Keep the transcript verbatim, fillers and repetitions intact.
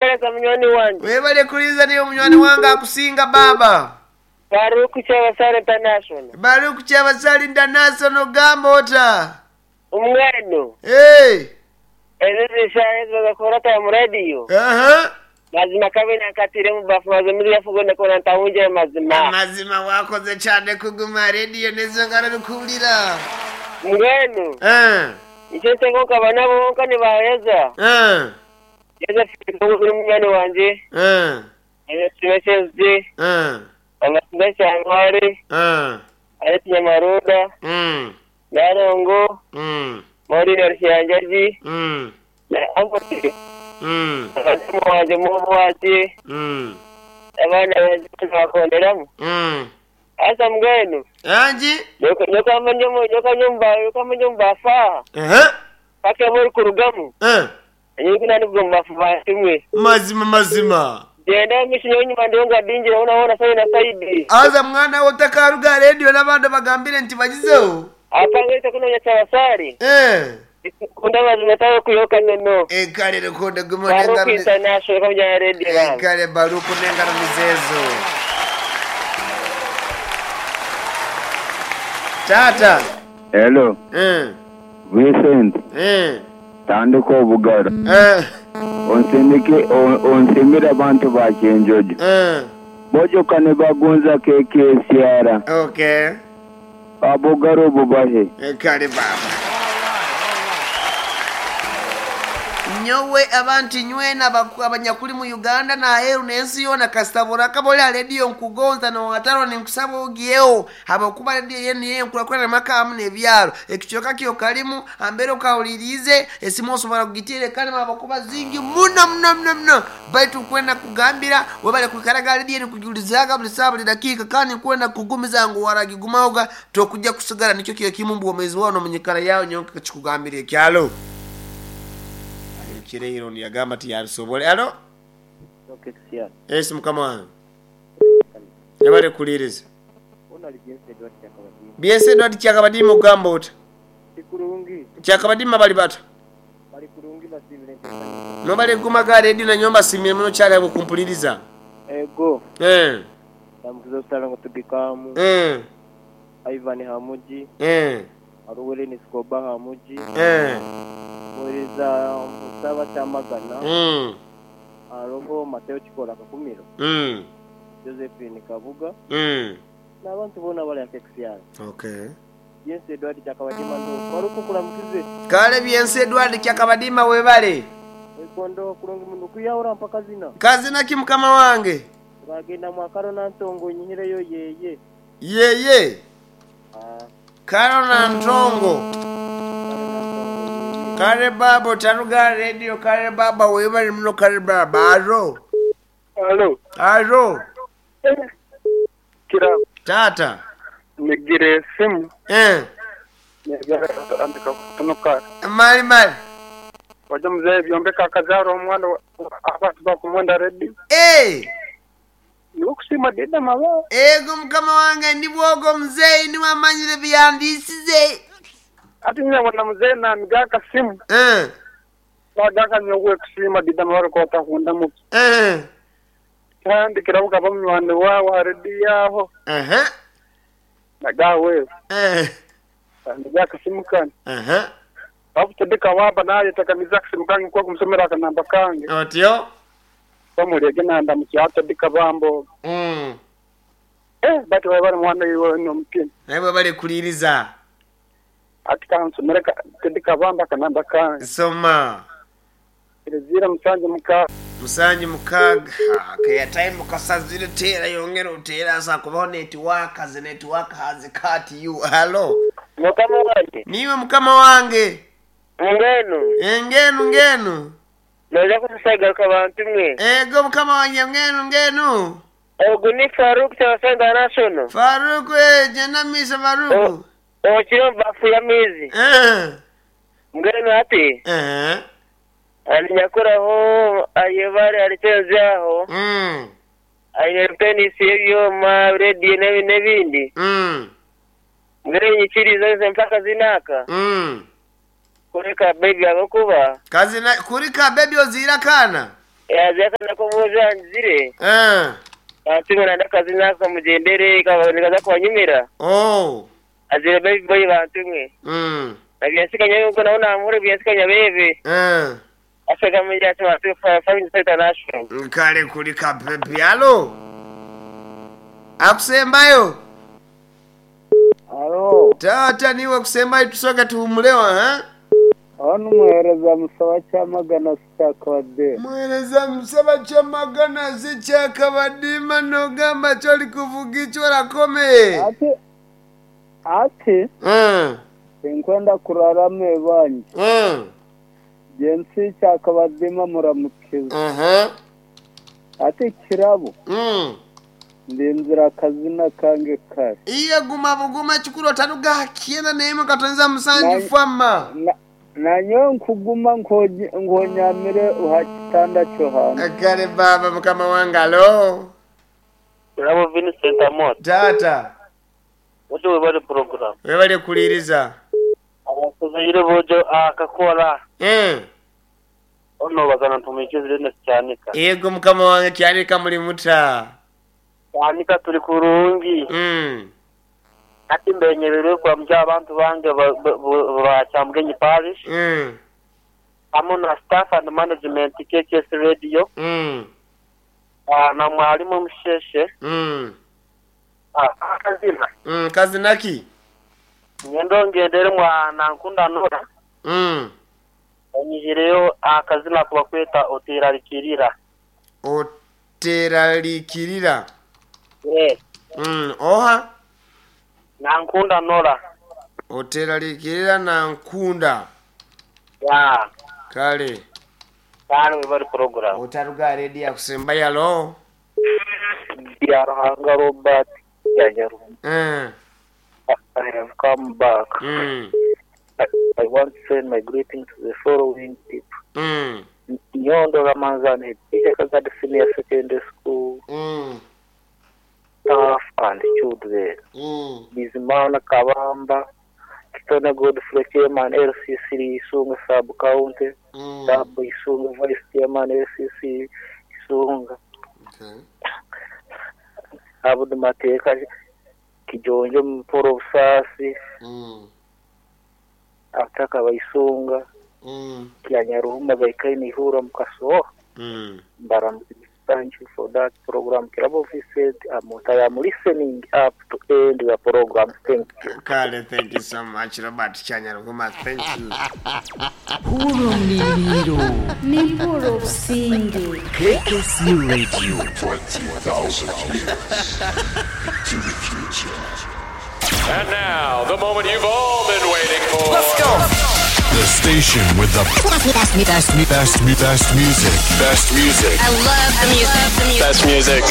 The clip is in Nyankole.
kuhereza munywani wange. Webale kuliza niyo munywani wange akusinga baba. Faruku Kyabasale International. Baruku Kyabasale International gamba ota. Umweno. Hey. Ezizi shahezo bakora ta mu radio. Aha. Mazima kabe nakatire mu bafu mazima yafugo ndakona ntawunje mazima. Mazima wakoze cyane kuguma radio nezo ngara rukulira. Mbwenu. Eh. Icyo nsengo kabana bonka nibaheza. Eh. Yeza uri munywani wanje. Eh. Yeza tumeseze. Eh. Amasinda cyangware. Eh. Ari Nyamaruda. Mm. Narongo. Mm. Maureen Rusyanjaji. Mm. Na Ambote. Mm. Abadamu wanjye mubu wacu. Mm. Abana banjye bakonderamo. Mm. Asa mbwenu. Anji. Nyoka mnyomo nyoka nyumba nyoka nyumba fa. Eh. Paka muri kurugamu. Eh. Nyuko nani kugomba fuba Mazima mazima. Genda mishinyo nyuma ndonga dinjira unaona sayi na saidi. Aza mwana otakaruga radio n'abandi bagambire nti bagizeho. Apangete kunonya cyabasari. Eh. Kunda mazima tawe kuyoka neno. Eh kale rekonda guma Baruku nengaro. International kamujana radio. Eh kale baruku nengaro mizezo. Tata. Hello. Eh. Vincent. Eh. Tandika obugaro. Eh. Onsindike onsimire abantu ba Kyenjojo. Eh. Bojoka ne bagonza keke esiara. Okay. Abugaro bubahe. Eh kale baba. Nyowe abantu nywena abanyakuli mu Uganda na heru n'ensi yona kastabora kabola radio nkugonza no wataro ninkusaba ogiyeho abakuba radio yenu yenkulakulana makamu n'ebyalo ekichoka kyo kalimu ambere okawulirize esimu osobola kugitire kale abakuba zingi muno muno muno muno baitu kwenda kugambira webale kwikaraga radio nikujulizaga buli saa buli dakiika kandi kwenda kugumiza ngu waragigumaoga tokujja kusigala nikyo kiyo kimu mbwomezi wao nomunyikara yawo nyonka kikugambira ekyalo kireiro yagamba ti yabisobole. Alo? Esi mukama wange. Yabale kuliriza. Byense Edward Kyakabadima ogamba ota? Kurungi. Kyakabadima bali bata? Bali kurungi basimire. Nobale guma ga radio na nyomba simire muno kyali abo kumpuliriza. Ego. Eh. Namukizo salango tugikamu. Eh. Ivan Hamuji. Eh. Aruwele ni Skoba Hamuji. Eh. Mwereza Musaba Kyamagana. Mm. Aroho Mateo Chikola Kakumiro. Mm. Josephine Kabuga. Mm. N'abantu bona bali akexiyana. Okay. Byense Edward Kyakabadima ndo baruku kulamukize. Kale Byense Edward Kyakabadima webale. Ekondo kulungi mundu kuyawura mpaka zina. Kazina ki mukama wange? Bagenda mwakaro na ntongo nyihireyo yeye. Yeye. Ah. Karo na ntongo. Kare baba taruga radio kare baba webale muno kare baba aro. Alo. Aro. Kira. Tata. Nigire simu. Eh. Nigire andika kutunuka. Mali mali. Waje mzee byombeka akazaro omwana abantu bakumwenda ready. Eh. Nikusima dida mawa. Ego mukama wange ndi bwogo mzee ni wamanyire byandisize. Ati nyabona mzee na migaka simu. Eh. Bagaka nyowe kusima dida mawa ko takunda mu. Eh. Kandi kirabuka bamwana wawe ready yaho. Eh. Nagawe. Eh. Migaka simu kan. Eh. Abutedeka waba naye takamiza kusimu kange kwa kumsomera akanamba kange. Otyo. Bamurege nanda mukyata dikabambo. Mm. Eh bati wabara mwana iwe no mutini. Nawe bale kuliriza. Ati kansomera tedikabamba kanamba kange. Soma. Zira musanje muka Musanje mukaga. Okay, time kasazire tera yongera utera sa kubaho network as network has cut you. Hello. Mukama wange. Niwe mukama wange. Ngenu. Engenu ngenu. Noja kutusaiga abantu mwe. Ego mukama wange ngenu ngenu. Ogu ni Faruk Kyabasale International. Faruk eh jena misa Faruk. Okiro bafu ya mizi. Eh. Ngenu ati. Eh. Alinyakuraho ayebare alichezaho. Mm. Aine tennis ebyoma radio n'ebindi. Mm. Ngere nyikiriza nze mpaka zinaka. Mm. Kureka baby abakuba. Kazi na kurika baby ozira kana. Yazeka nakubuuza nzire. Eh. Bantu nanda kazina kamugendere kaboneka kwanyumira. Oh. Azire baby boy bantu mwe. Mm. Nabyansikanya yuko naona amure byansikanya bebe. Eh. Afrika mwenye ati watu Five International. Kale kulika pepe alo. Akusembayo. Alo, Tata niwe kusembayo tusoka tuhumulewa ha? ono muhereza musaba kyamagana sikyakabadde. Mwereza musaba kyamagana si kyakabadima nogamba kyoli kuvuga icyo orakomeye. Ati ati Mm. sinkwenda kurara mwebanyi. Mm. Jensi kyakabadima muramukiza. Aha. Ati kirabo Mm. ndinzira akazina kange kare. Iye guma buguma kikuru otaruga kiena neimwe katonza musanju Na- fama. Na- nanyowe nkuguma nkonye- nkonyamire uha kitanda cyo hanze. Kale baba mukama wange alo. Bravo Vincent Amot. Tata. Wote webale program. Webale kuliriza. Abakuzaire bojo akakora. Mm. Ono bazana ntumikizire nesi cyanika. Yego mukama wange kyalika muli muta. Cyanika turi kurungi. Mm. Ati mbenyerere kwa mja abantu bange ba- ba- ba ba Kyamgenyi Parish. Mm. Hamwe na staff and management K K S Radio. Mm. Ah, na mwalimu Musheshe. Mm. Ah, akazina. Mm. Kazinaki. Ngendo ngendere mwa nankunda nora. Mm. Onyihireyo akazina kubakweta oterarikirira. Oteralikirira. Yes. Mm. Oha. Nankunda nora. Oteralikirira na nkunda. Ya. Kale. Kale webali program. Otaruga ready akusemba yalo. Ya Ruhanga Robert Yanyaruhuma. Mm. I have come back. Mm. I, I want to send my greetings to the following people. Mm. Nyondo Ramanzani, teacher Kagadi Senior Secondary School, Mm. staff and children. Mm. Bizimana Kabamba, Kitone Godfrey Chairman, L C C Isunga Sub County, Mm. Sub Isunga Vice Chairman, L C C Isunga, Okay. Abdu Mateka, Kijonjo Mporo Busasi, Mm. Ataka Baisunga, Mm. Kyanyaruhuma Baikaini Ihura Mukaso. Mm. But I'm thank you for that program. Kirabo Vincent, I'm, I am listening up to end the program. Thank you. Kale, thank you so much, Robert Chanyaruhuma. Thank you. Hurumliliro Nimpuro Businge. K K C Radio. twenty thousand years to the future. And now, the moment you've all been waiting for. Let's go. The station with the best, best, best, best, best music. Best music. I love the music. The music. Best music.